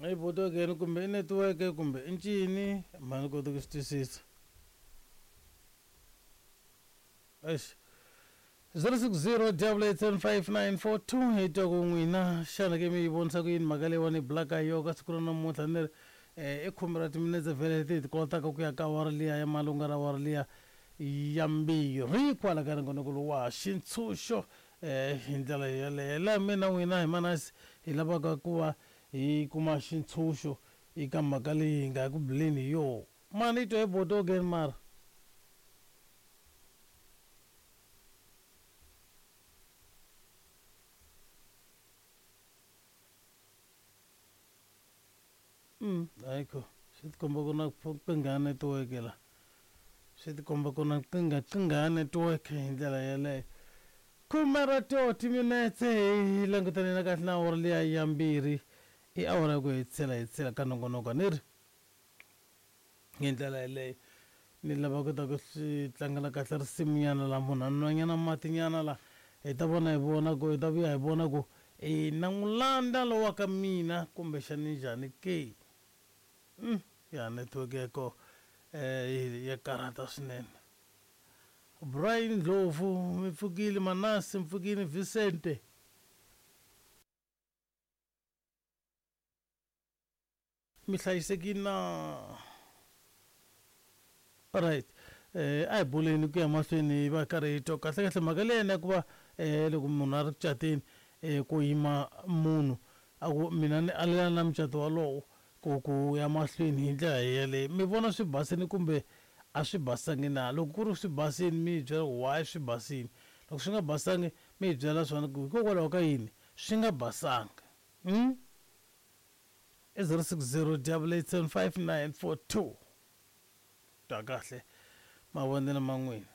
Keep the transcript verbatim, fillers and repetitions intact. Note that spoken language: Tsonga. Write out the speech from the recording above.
I botokeni kumbe i netiweke kumbe i ncini mhani koti ku swi twisisa. Eish, zero six zero double eight seven five nine four two hi twa ku n'wina xana ke mi yi vonisa ku yini mhaka leyiwani blaka yo ka siku ra namuntlha ni ri eh, i khume ra timinetse vhele leti hi ti kotaka ku ya ka awara liya ya malunga ra awara liya ya mbirhi kwala ka nongonoko lowu wa xintshunxo eh, hi ndlela yeleyo laha mina n'wina hi manasi hi lavaka ku va hi kuma xintshunxo eka mhaka leyi hi nga ku buleni hi yoho mani yi twa hi botokeni mara. Mm, ayikho swi tikomba ku na nkingha ya netiweke la swi tikomba ku na nkingha nkingha ya netiweke hi ndlela yeleyo khume ra to timinetse hi langutane na kahle na awara liya ya mbirhi i awara ya ku hetisela hetisela ka nongonoko ni ri hi ndlela yeleyo ni lava ku ta ku swi tlangela kahle risimunyana la munhu a nwanyana matinyana la hi ta vona hi vona ku hi ta vuya hi vona ku i na n'wi landza lowa ka mina kumbexani njhani ke. Mm, ya network ya koho eh ya karhata swinene. Brian Ndlovu mi pfukile, Manasi mi pfukile, Vicente mi hlayisekile na? Alright, eh a hi buleni ku ya mahlweni hi va karhi hi twa kahle kahle mhaka leyi ya ku va eh loko munhu a ri ku cateni eh ku yima munhu a ku mina ni alelana na mucato walowo ku ku ya mahlweni hi ndlela yeleyo mi vona swi basini kumbe a swi basangi na? Loko ku ri swi basini mi hi byela ku why swi basini, loko swi nga basangi mi hi byela swona ku hikokwalaho ka yini swi nga basanga. Hmm? I zero six zero double eight seven five nine four two. Twa kahle mavonelo ma n'wina.